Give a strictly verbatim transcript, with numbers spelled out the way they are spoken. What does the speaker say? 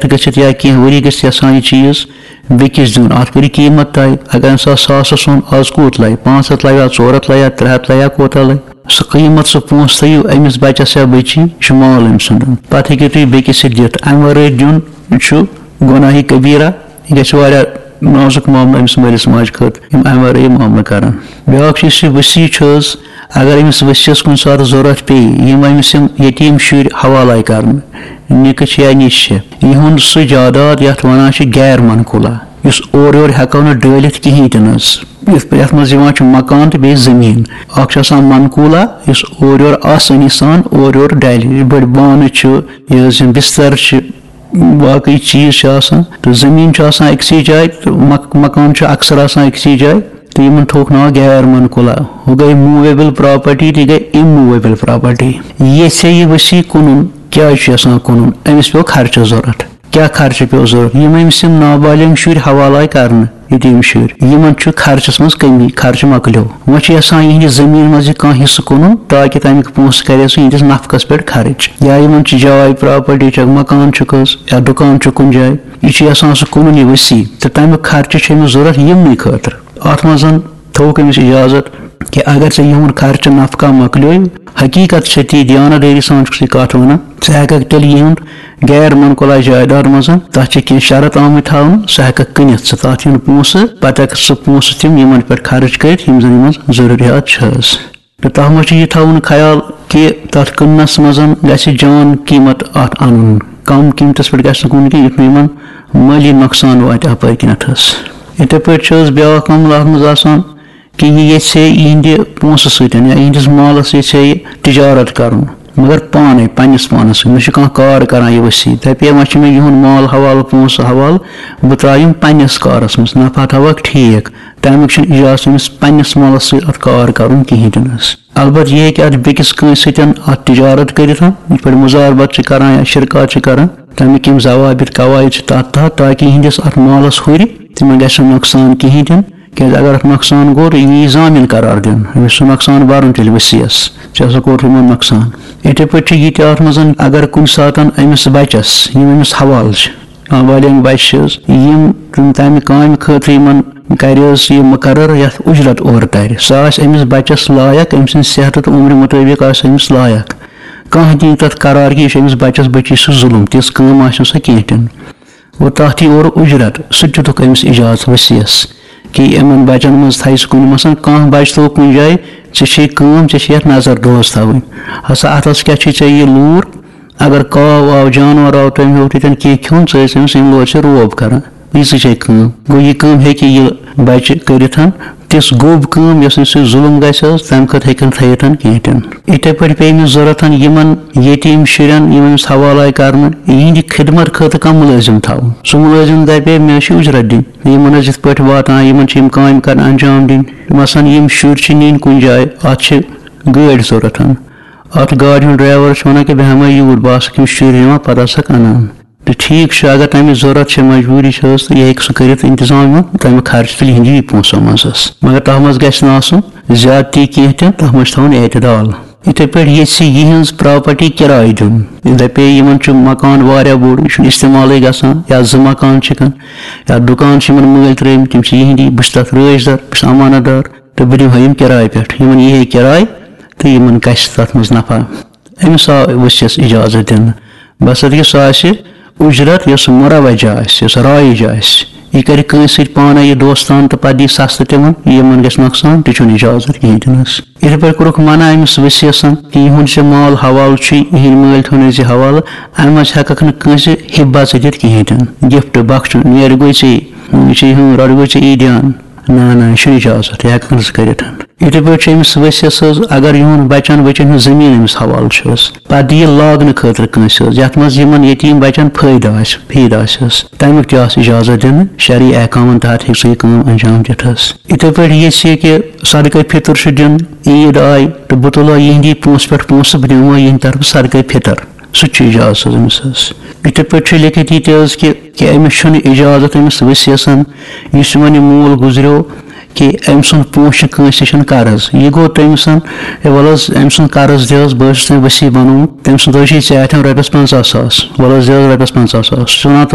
گٔژھِتھ یا کینٛہہ ؤری گٔژھِتھ یَژھان یہِ چیٖز بیٚکِس دیُن، اَتھ کٔرِو قۭمَتھ طے۔ اگر أمِس آو ساسَس سۄن، آز کوٗت لَگہِ؟ پانٛژھ ہَتھ لَگہِ، ژور ہَتھ لَگہِ، ترٛےٚ ہَتھ لَگہِ، کوٗتاہ لَگہِ؟ سُہ قۭمَتھ، سُہ پونٛسہٕ تھٲیِو أمِس بَچَس یا بٔچی، یہِ چھُ مال أمۍ سُنٛد۔ پَتہٕ ہیٚکِو تُہۍ بیٚکِس تہِ دِتھ۔ اَمہِ وَرٲے دیُن چھُ گۄناہہِ کبیٖرہ۔ یہِ گژھِ واریاہ نازُک معاملہٕ أمِس مٲلِس ماجہِ خٲطرٕ، یِم اَمہِ وَرٲے یہِ معاملہٕ کَرَن۔ بیٛاکھ چھُ، یُس یہِ وصی چھُ حظ، اگر أمِس ؤسیَس کُنہِ ساتہٕ ضروٗرت پیٚیہِ، یِم أمِس یِم یتیٖم شُرۍ حوالے کرنہٕ، نِکہٕ چھِ یا نِچہِ چھِ، یِہُنٛد سُہ جاداد یَتھ وَنان چھِ غیر منقولہ، یُس اورٕ یورٕ ہٮ۪کو نہٕ ڈٲلِتھ کِہیٖنۍ تہِ نہٕ حظ۔ یَتھ، یَتھ منٛز یِوان چھُ مکان تہٕ بیٚیہِ زٔمیٖن۔ اَکھ چھُ آسان منقولہ، یُس اورٕ یورٕ آسٲنی سان اورٕ یورٕ ڈَلہِ۔ یِتھ پٲٹھۍ بانہٕ چھِ، یہِ حظ یِم بِستَر چھِ، باقٕے چیٖز چھِ آسان، تہٕ زٔمیٖن چھِ آسان أکسٕے جایہِ، تہٕ مک-، مکان چھُ اکثر آسان أکسٕے جایہِ۔ تہٕ یِمن تھوٚوُکھ ناو غیر منقولہ۔ ہُہ گٔے موویبل پراپرٹی، تہِ گٔے اموویبل پراپرٹی۔ یژھے یہِ وصی کٕنُن، کیٛازِ چھُ یژھان کٕنُن؟ أمِس پیوٚو خرچس ضروٗرت۔ کیٛاہ خرچہٕ پیوٚو ضروٗرت؟ یِم أمِس یِم نابالغ شُرۍ حوالہٕ آیہِ کرنہٕ، یتیٖم شُرۍ، یِمن چھُ خرچس منٛز کٔمی، خرچہٕ مۄکلیو۔ وۄنۍ چھُ یژھان یِہنٛدِ زٔمیٖن منٛز یہِ کانٛہہ حصہٕ کٕنُن، تاکہِ تمیُک پونٛسہٕ کرِ سُہ یِہنٛدِس نفقس پٮ۪ٹھ خرٕچ۔ یا یِمن چھِ جاے، پراپرٹی چھکھ، مکان چھُکھ حظ، یا دُکان چھُ کُنہِ جایہِ، یہِ چھُ یژھان سُہ کٕنُن، یہِ وصی، تہٕ تمیُک خرچہٕ چھُ أمِس ضروٗرت یِمنٕے خٲطرٕ۔ اتھ منٛز تھوٚوُکھ أمِس اجازت کہِ اگر ژےٚ یِہُنٛد خرچہٕ نفقہ مۄکلیو، حقیقت چھےٚ تی، دیانت دٲری سان چھُکھ ژٕ یہِ کتھ ونان، ژٕ ہٮ۪ککھ تیٚلہِ یِہُنٛد غیر منقولہ جائیداد منٛز، تتھ چھِ کینٛہہ شرط آمٕتۍ تھاونہٕ، سُہ ہٮ۪ککھ کٕنِتھ ژٕ تتھ یِہُنٛد پونٛسہٕ، پتہٕ ہٮ۪ککھ سُہ پونٛسہٕ تِم یِمن پٮ۪ٹھ خرٕچ کٔرِتھ، یِم زن یِمن ضروٗریات چھِ حظ۔ تہٕ تتھ منٛز چھُ یہِ تھاوُن خیال کہِ تتھ کٕننس منٛز گژھِ جان قۭمت اتھ انُن، کم قۭمتس پٮ۪ٹھ گژھِ نہٕ کُنہِ کینٛہہ، یُتھ نہٕ یِمن مٲلی نۄقصان واتہِ اپٲرۍ کِنتھ حظ۔ یِتھے پٲٹھۍ چھِ حظ بیٛاکھ معاملہٕ اتھ منٛز آسان کہِ یہِ یژھِ ہے یِہنٛدِ پونٛسہٕ سۭتۍ یا یِہنٛدِس مالس یژھِ ہے یہِ تجارت کرُن، مگر پانے، پننِس پانس سۭتۍ۔ مےٚ چھُ کانٛہہ کار کران یہِ وصی، دپہِ ہے وۄنۍ چھُ مےٚ یِہُنٛد مال حوالہٕ، پونٛسہٕ حوالہٕ، بہٕ ترٛاوٕ یِم پننِس کارس منٛز، نفع تھاوکھ ٹھیٖک۔ تمیُک چھُنہٕ اجازت أمِس پننِس مالس سۭتۍ اتھ کار کرُن کِہیٖنۍ تہِ نہٕ حظ۔ البتہٕ یہِ ہیٚکہِ اتھ بیٚکِس کٲنٛسہِ سۭتۍ اتھ تجارت کٔرِتھ، یِتھ پٲٹھۍ مزاربت چھِ کران یا شرکات چھِ کران، تمیُک یِم ضوابط قواعد چھِ تتھ تحت، تاکہِ یِہنٛدِس اتھ مالس ہُرِ، تِمن گژھِ نہٕ نۄقصان کِہیٖنۍ تہِ نہٕ۔ کیٛازِ اگر اتھ نۄقصان گوٚو، تہٕ یہِ یی ضامن قرار دِنہٕ، أمِس چھُ نۄقصان برُن تیٚلہِ وصیس، ژےٚ ہسا کوٚرُتھ یِمن نۄقصان۔ یِتھے پٲٹھۍ چھُ یہِ تہِ اتھ منٛز، اگر کُنہِ ساتن أمِس بچس، یِم أمِس حوالہٕ چھِ، نابالغ بچہِ چھِ حظ، یِم تِم تمہِ کامہِ خٲطرٕ یِمن کرِ حظ یہِ مقرر یتھ اجرت اورٕ ترِ، سۄ آسہِ أمِس بچس لایق، أمۍ سٕنٛدِ صحتہٕ تہٕ عمرِ مطٲبق آسہِ أمِس لایق۔ کانٛہہ دِیہِ تتھ قرار کہِ یہِ چھُ أمِس بچس بچی سُہ ظلم، تِژھ کٲم آسہِ نہٕ سۄ کینٛہہ تہِ نہٕ۔ گوٚو تَتھ یی اورٕ اُجرت، سُہ تہِ دیُتُکھ أمِس اِجازت وصیَس کہِ یِمَن بَچَن منٛز تھایہِ سُہ کُنہِ، مثلاً کانٛہہ بَچہٕ تھوٚو کُنہِ جایہِ، ژےٚ چھے کٲم، ژےٚ چھے یَتھ نظر دوز تھاوٕنۍ۔ ہسا اَتھ ہسا کیٛاہ چھُے ژےٚ یہِ لوٗر؟ اگر کاو آو، جانوَر آو، تٔمۍ ہیوٚت ییٚتٮ۪ن کینٛہہ کھیوٚن، ژٕ ٲسۍ أمِس اَمہِ لورِ چھِ روب کَران۔ یِژٕے چھے کٲم۔ گوٚو، یہِ کٲم ہیٚکہِ یہِ بَچہِ کٔرِتھ۔ تِژھ گوٚب کٲم، یۄس نہٕ سُہ ظُلُم گژھِ حظ، تَمہِ خٲطرٕ ہیٚکن تھٲیِتھ کِہیٖنۍ تہِ نہٕ۔ یِتھَے پٲٹھۍ پیٚیہِ أمِس ضوٚرَتھ یِمَن یتیٖم شُرٮ۪ن، یِم أمِس حوالہٕ آیہِ کرنہٕ، یِہِنٛدِ خدمت خٲطرٕ کانٛہہ مُلٲزِم تھاوُن۔ سُہ مُلٲزِم دَپہِ ہے، مےٚ چھِ اُجرت دِنۍ، یِمَن حظ یِتھ پٲٹھۍ واتان، یِمَن چھِ یِم کامہِ کرنہٕ انجام دِنۍ۔ مثلاً یِم شُرۍ چھِ نِنۍ کُنہِ جایہِ، اَتھ چھِ گٲڑۍ ضوٚرَتھ۔ اَتھ گاڑِ ہُنٛد ڈرٛایوَر چھُ وَنان کہِ بہٕ ہٮ۪مہٕ یوٗرۍ، بہٕ آسَکھ یِم شُرۍ نِوان، پَتہٕ آسَکھ اَنان۔ تہٕ ٹھیٖک چھُ، اگر تَمِچ ضوٚرَتھ چھِ، مجبوٗری چھِ حظ، تہٕ یہِ ہیٚکہِ سُہ کٔرِتھ اِنتظام یِمَن، تَمیُک خرچہٕ تُلہِ یِہِنٛدی پونٛسو منٛز حظ۔ مگر تَتھ منٛز گژھِ نہٕ آسُن زیادتی کینٛہہ تہِ، تَتھ منٛز چھُ تھاوُن اعتدال۔ یِتھَے پٲٹھۍ ییٚژھِ یِہٕنٛز پراپرٹی کِراے دیُن۔ یہِ دَپے، یِمَن چھُ مکان واریاہ بوٚڑ، یہِ چھُنہٕ استعمالٕے گژھان، یا زٕ مکان چھِ کَن، یا دُکان چھِ یِمَن مٲلۍ ترٛٲومٕتۍ، تِم چھِ یِہِنٛدی، بہٕ چھُس تَتھ رٲچھ دار، بہٕ چھُس امانت دار، تہٕ بہٕ دِمہٕ ہا یِم کِراے پٮ۪ٹھ۔ یِمَن یی ہے کِراے تہٕ یِمَن گژھِ تَتھ منٛز نفع۔ أمِس آو ؤسِیَس اجازت دِنہٕ، بس اَتھ گژھِ سُہ آسہِ اُجرت، یۄس مروجہ آسہِ، یۄس رایج آسہِ۔ یہِ کرِ کٲنٛسہِ سۭتۍ پانَے یہِ دوستان تہٕ پتہٕ دی سستہٕ تِمن، یِمن گژھِ نۄقصان، تہِ چھُنہٕ اجازت کِہیٖنۍ تہِ نہٕ حظ۔ یِتھے پٲٹھۍ کوٚرُکھ منع أمِس ؤسِیَسن کہِ یِہُنٛد یہِ مال حوالہٕ چھُ، یِہِنٛدۍ مٲلۍ تھٲونٲوزِ حوالہٕ، اَمہِ منٛز ہٮ۪ککھ نہٕ کٲنٛسہِ ہِبہ ژٕ دِتھ کِہیٖنۍ تہِ نہٕ۔ گفٹ، بخشُن، نیرِ گوٚو ژےٚ، یہِ چھُ یِہُنٛد، رۄٹ گوٚو ژےٚ عیٖدیان۔ نہ، نہ، یہِ چھُنہٕ اجازت، یہِ ہٮ۪ککھ نہٕ ژٕ کٔرِتھ۔ یِتھے پٲٹھۍ چھُ أمِس ؤسِیَس حظ، اگر یِہُنٛد بَچَن وٕچھَن ہٕنٛز زٔمیٖن أمِس حوالہٕ چھِ حظ، پَتہٕ دِیہِ لاگنہٕ خٲطرٕ کٲنٛسہِ حظ، یَتھ منٛز یِمَن یتیٖم بَچَن فٲیدٕ آسہِ، فٲیدٕ آسہِ حظ، تَمیُک تہِ آسہِ اِجازت دِنہٕ۔ شرعی احکامَن تحت ہیٚکہِ سُہ یہِ کٲم انجام دِتھ حظ۔ یِتھے پٲٹھۍ ییٚژھِ یہِ کہِ صدقے فطر چھُ دیُن، عیٖد آیہِ تہٕ بہٕ تُلہٕ یِہِنٛدی پونٛسہٕ پٮ۪ٹھ پونٛسہٕ، بہٕ دِمہٕ یِہِنٛدِ طرفہٕ صدقے فطر۔ سُہ تہِ چھُ اجازت حظ أمِس حظ۔ یِتھے پٲٹھۍ چھُ لیٚکھِتھ یہِ تہِ حظ کہِ، کہِ أمِس چھُنہٕ اجازت أمِس ؤسِیَسَن، یُس یِمَن یہِ مول گُزریو، کہِ أمۍ سُنٛد پونٛسہٕ چھُ کٲنٛسہِ نِش قرض۔ یہِ گوٚو تٔمۍ سُنٛد، ہے، وَلہٕ حظ، أمۍ سُنٛد قرض دِ حظ، بہٕ حظ چھُس تۄہہِ وسیع بنومُت، تٔمۍ سُنٛد حظ چھُ یہِ ژےٚ اَتھٮ۪ن رۄپیَس پنٛژاہ ساس، وَلہٕ حظ، دِ حظ رۄپیَس پنٛژاہ ساس۔ سُہ چھُ وَنان،